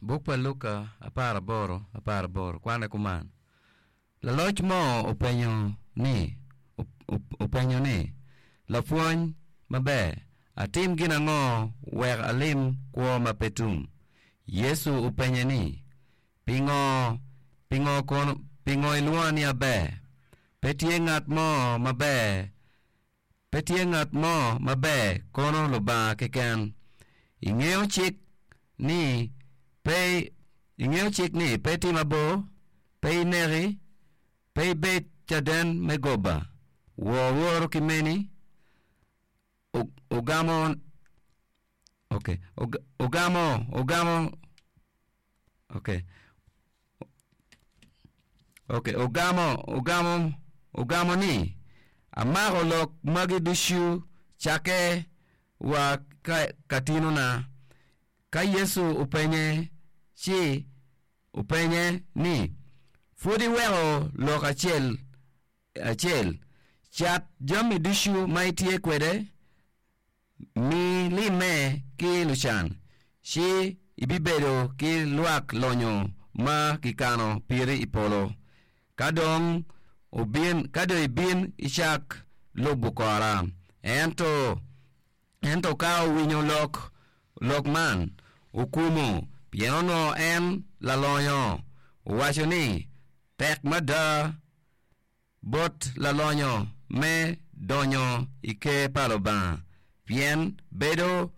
Buk pa Luka aparaboro aparaboro kwane kuman, Laloc mo openyo ni, openyo ni, 'Lapwony maber, atim gin ango wek alim kwo ma pe tum? Yecu openye ni, Pingo, pingo kono, pingo ilwonga ni aber? Pe tye ngat mo maber Pe tye ngat mo maber kono Lubanga keken. Ingeyo cik ni pe ingeyo cik ni pe itim abor, pe ineki, pe ibed caden me goba, wor woru ki meni. Ogamo okay ogamo ogamo okay Ok, ogamo, ogamo, ogamo ni, Amako lok magi ducu cakke wa ka, ka tinona. Ka Yecu openye, ci openye ni, Pud iweko lok acel acel, cat jami ducu ma itye kwede, Mi limme ki lucan, ci ibibedo ki lwak lonyo ma kikano piri i polo. Ka dong obin, ka dong ibin icak lubo kora. Ento, ento ka owinyo lok, lok man, okumo, pien onongo en lalonyo. Owaco ni, Tek mada bot lalonyo me donyo i Ker pa Lubanga, pien bedo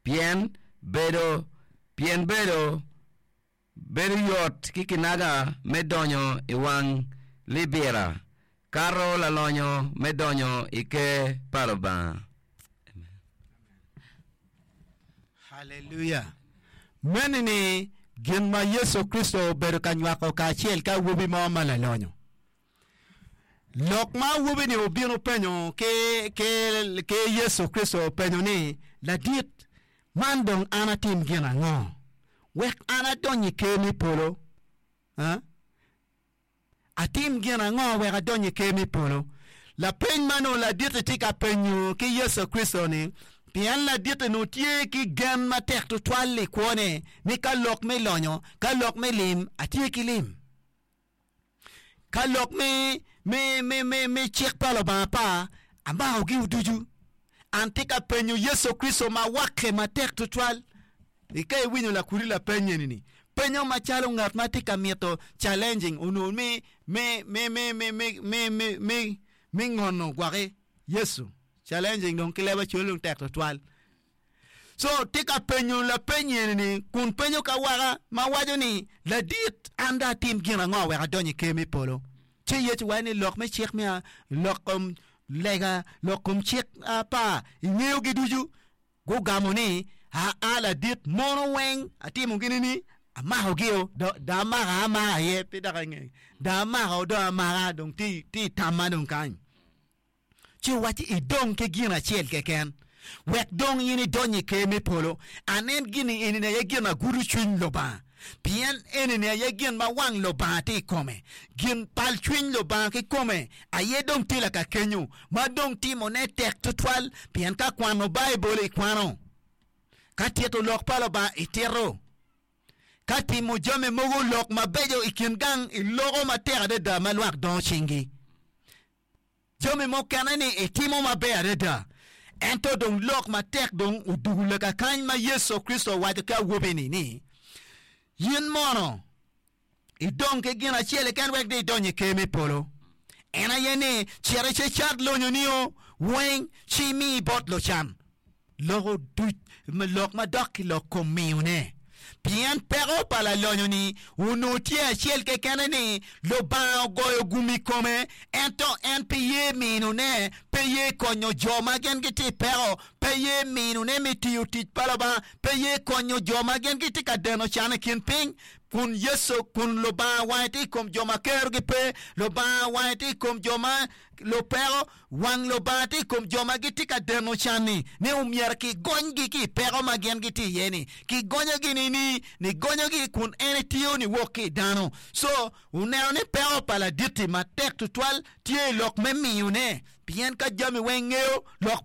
pien bedo pien bedo bedo yot ki kinaga me donyo i wang libira kato lalonyo me donyo i Ker pa Lubanga. Haleluya! Meno ni gin ma Yecu Kricito obedo ka nywako kacel ki awobi mo ma lalonyo. Lok ma awobi-ni obino penyo ki, ki, ki Yecu Kricito openyo ni, Ladit, man dong an atim gin ango wek an adony i ker me polo? Ha? Atim gin ango wek adony i Ker me polo? Lapeny ma onongo ladit-ti tye ka penyo ki Yecu Kricito-ni, pien ladit-ti onongo tye ki gen matek tutwal i kwone ni ka lok me lonyo, ka lok me lim, atye ki lim. Ka lok me, me, me, me, me cik pa Lubanga pa, amakogi ducu. An tye ka penyo Yecu Kricito ma wakke matek tutwal. I ka iwinyo lakudi lapeny eni ni, penyo macalo ngat ma tye ka mito challenging onongo me me me me me me me me me me ngono gwaki Yecu. Challenging dong ki leb acol dong tek tutwal. So tye ka penyo lapeny eni ni kun penyo ka waka ma waco ni ladit an dong atim gin ango wek adony i ker me polo. Ci Yecu waco ni lok me cik me lok kom lega lok kom cik apar ingeyogi ducu. Gugamo ni, Aa, ladit, mono weng atimo gini ni amakogi-o, dong amaka amaka aye, pe dok ange, dong amako dong amaka, dong tye i tamma dong kany. Ci owacci, Idong ki gin acel keken, wek dong in idony i ker me polo. Anen gin-ni eni-ni aye gin ma gudo cwiny Lubanga. Pien enini aye gin ma wang Lubanga tye i kome, gin pal cwiny Lubanga kikome aye dong tye lakakenyo, ma dong timone tek twatwal, pien ka kwano Baibul ikwano, ka tito lok pa Lubanga itito, ka timo jami mogo lok mabeco i kin gang iloko matek adada ma lwak dongo cinggi. Jami mukene-ni itimo maber adada, ento dong lok matek dong odugo lakakany ma Yecu Kricito owaco ki awobi-ni ni, In mono idong ki gin acel keken wek dong idony i Ker me polo, en aye ni, cit icecat lonyonio weng ci imi bot lucan. Loko duc lok ma dok i lok kom miyone. Pien peko pa lalonyo-ni onongo tye acel kekene ni, Lubanga ogoyo gum i kome, ento en pe ye minone, pe ye konyo jo ma gin gitye i peko, pe ye minone me tiyo tic pa Lubanga, pe ye konyo jo ma gin gitye ka deno can i kin piny. Kun Yecu, kun Lubanga wange tye i kom jo ma kerogi pe, Lubanga wange tye i kom jo ma lupeko, Wang Lubanga tye i kom jo ma gitye ka deno can-ni, ni omyero kigonygi ki i peko ma gin gitye iye-ni. Kigonyogi nini? Nigonyogi kun en etiyo niwok ki i dano. Co, oneno ni peko pa ladit-ti matek tutwal tye i lok me miyone, pien ka jami weng ngeyo lok pa.